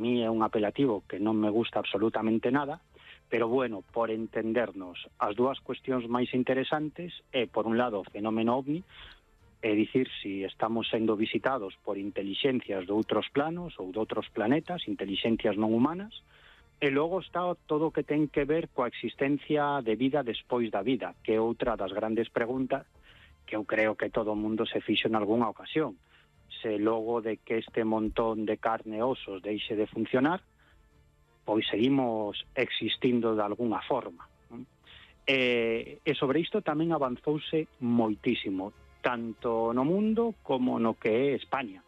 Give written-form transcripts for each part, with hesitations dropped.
mí é un apelativo que non me gusta absolutamente nada, pero bueno, por entendernos, as dúas cuestións máis interesantes é, por un lado, o fenómeno OVNI, é dicir, si estamos sendo visitados por intelixencias de outros planos ou de outros planetas, intelixencias non humanas, e logo está todo o que ten que ver coa existencia de vida despois da vida, que é outra das grandes preguntas que eu creo que todo o mundo se fixo en algunha ocasión. Se logo de que este montón de carne e osos deixe de funcionar, pois seguimos existindo de algunha forma. E sobre isto tamén avanzouse moitísimo, tanto no mundo como no que é España.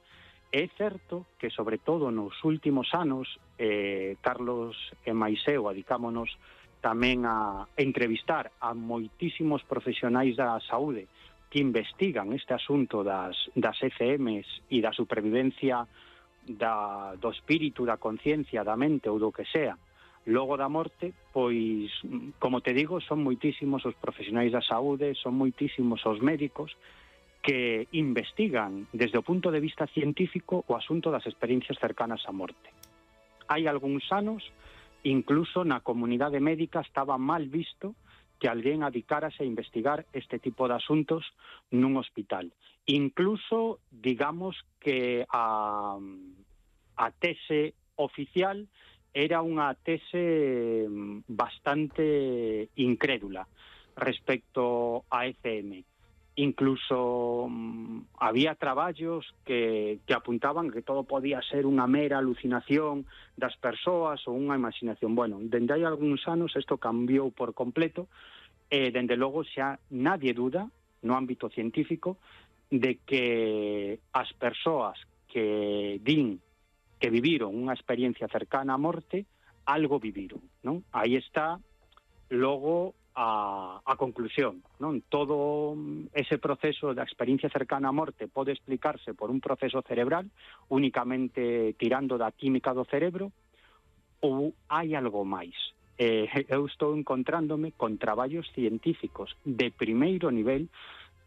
É certo que, sobre todo nos últimos anos, Carlos e Maiseu adicámonos tamén a entrevistar a moitísimos profesionais da saúde que investigan este asunto das ECMs e da supervivencia do espírito, da conciencia, da mente ou do que sea logo da morte, pois, como te digo, son moitísimos os profesionais da saúde, son moitísimos os médicos que investigan desde o punto de vista científico o asunto das experiencias cercanas á morte. Hai algúns anos, incluso na comunidade médica estaba mal visto que alguén adicárase a investigar este tipo de asuntos nun hospital. Incluso, digamos que a tese oficial era unha tese bastante incrédula respecto a ECM. Incluso había traballos que apuntaban que todo podía ser unha mera alucinación das persoas ou unha imaginación. Bueno, dende hai algúns anos isto cambiou por completo e, dende logo, xa nadie duda, no ámbito científico, de que as persoas que din que viviron unha experiencia cercana á morte, algo viviron, non? Aí está, logo, a conclusión, non? Todo ese proceso da experiencia cercana á morte pode explicarse por un proceso cerebral, únicamente tirando da química do cerebro, ou hai algo máis. Eu estou encontrándome con traballos científicos de primeiro nivel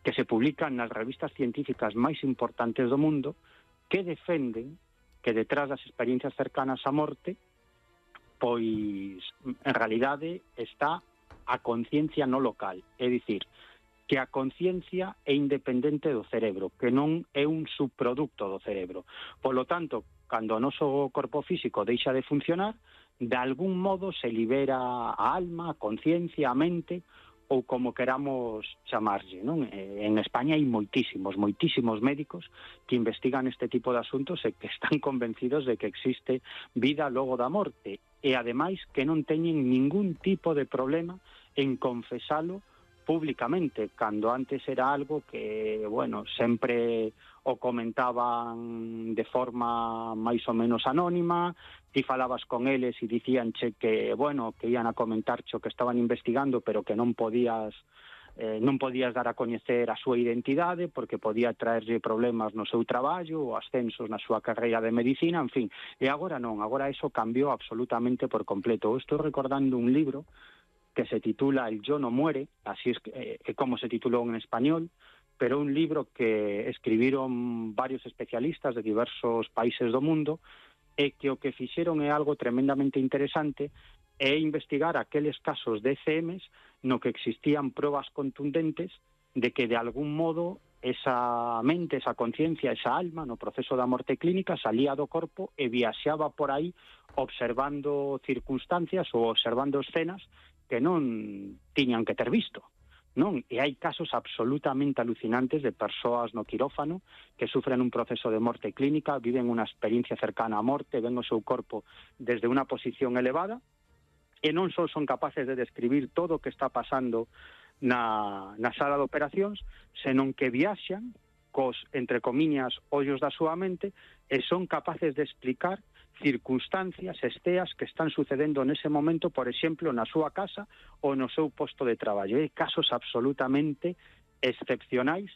que se publican nas revistas científicas máis importantes do mundo que defenden que detrás das experiencias cercanas á morte, pois, en realidade, está a conciencia no local, é dicir, que a conciencia é independente do cerebro, que non é un subproducto do cerebro. Polo tanto, cando o noso corpo físico deixa de funcionar, de algún modo se libera a alma, a conciencia, a mente, ou como queramos chamarlle, non? En España hai moitísimos médicos que investigan este tipo de asuntos e que están convencidos de que existe vida logo da morte e, ademais, que non teñen ningún tipo de problema en confesalo públicamente, cando antes era algo que, bueno, sempre o comentaban de forma máis ou menos anónima, ti falabas con eles e dicíanche que, bueno, que ian a comentarche o que estaban investigando, pero que non podías dar a coñecer a súa identidade porque podía traerlle problemas no seu traballo ou ascensos na súa carreira de medicina, en fin. E agora non, agora eso cambiou absolutamente por completo. Eu estou recordando un libro que se titula El yo no muere, así es como se titulou en español, pero un libro que escribiron varios especialistas de diversos países do mundo e que o que fixeron é algo tremendamente interesante, é investigar aqueles casos de ECMs no que existían probas contundentes de que de algún modo esa mente, esa conciencia, esa alma no proceso da morte clínica salía do corpo e viaxaba por aí observando circunstancias ou observando escenas que non tiñan que ter visto, non? E hai casos absolutamente alucinantes de persoas no quirófano que sufren un proceso de morte clínica, viven unha experiencia cercana á morte, ven o seu corpo desde unha posición elevada e non só son capaces de describir todo o que está pasando na sala de operacións, senón que viaxan cos, entre comiñas, ollos da súa mente e son capaces de explicar circunstancias, esteas que están sucedendo nese momento, por exemplo, na súa casa ou no seu posto de traballo. Hai casos absolutamente excepcionais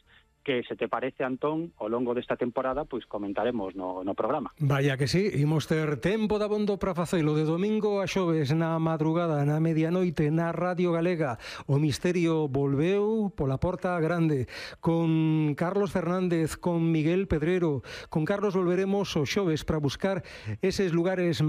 que se te parece, Antón, ao longo desta temporada, pois comentaremos no programa. Vaya que sí, imos ter tempo dabondo para facelo de domingo a xoves na madrugada, na medianoite, na Radio Galega. O misterio volveu pola porta grande, con Carlos Fernández, con Miguel Pedrero. Con Carlos volveremos os xoves para buscar eses lugares